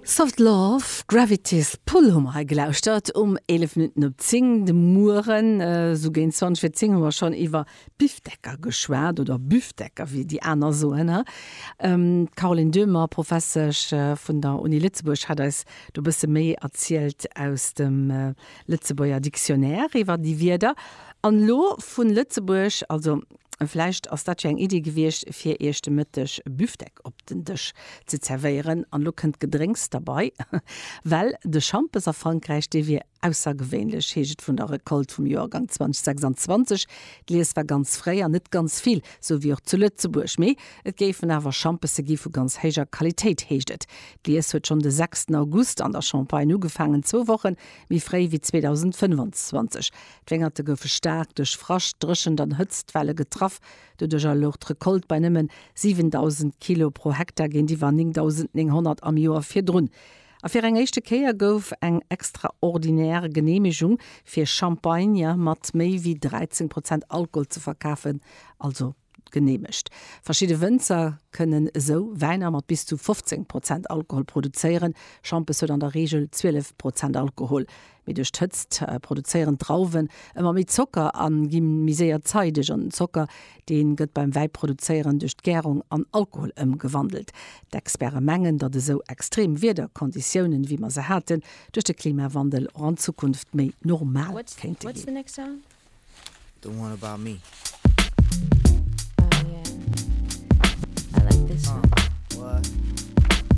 Soft Love, Gravity's Pull hu mer hei gelauschtert um 11 Minutten op 10 de Mueren. Esou géint 20 vir 10 hu mer schonn iwwer Bifdecker geschwat, oder Büfdecker, wéi déi aner soen. D'Caroline Döhmer, Professesch vun der Uni Lëtzebuerg, hat eis do e bësse méi erzielt aus dem Lëtzebuerger Dictionnaire iwwer déi Wierder. An elo vu Lëtzebuerg, also vläicht ass dat jo eng Iddi gewiescht, fir Iech de Mëtteg Büfdeck op den Dësch ze zerwéieren. An elo kënnt d'Gedrénks derbei, well de Schampes a Frankräich, dee wier aussergewéinlech, heescht et vun der Recolte vum Joergang 2026. D'Lies war ganz fréi an net ganz vill, sou wéi och zu Lëtzebuerg. Mee et géifen awer Schampesse gi vu ganz héijer Qualitéit, heescht et. D'Lies huet schonn de sechsten August an der Champagne ugefaangen, zwou Woche méi fréi wéi 2025. D'Wéngerte goufe staark duerch Frascht, Dréchent an Hëtztwelle getraff. Doduercher louch d'Recolte bei nëmmen 7.000 Kilo pro Hektar géintiwwer 9.900 am Joer virdrun. A fir eng éischte Kéier gouf eng extraordinär Geneemegung fir Champagner mat méi wéi 13 Prozent Alkohol ze verkafen, also geneemegt. Verschidde Wënzer kënnen esou Wäiner mat bis zu 15 Prozent Alkohol produzéieren. Schampes huet an der Reegel 12 Prozent Alkohol. Mee duerch d'Hëtzt produzéieren d'Drauwen ëmmer méi Zocker a gi méi séier zeideg. An den Zocker, dee gëtt beim Wäiproduzéieren duerch d'Gärung an Alkohol ëmgewandelt. D'Experte mengen, datt esou extrem Wiederkonditiounen, wéi mer se haten, duerch de Klimawandel och an Zukunft méi normal kéinte ginn. The one about me. Oh yeah. I like this uh, one. What?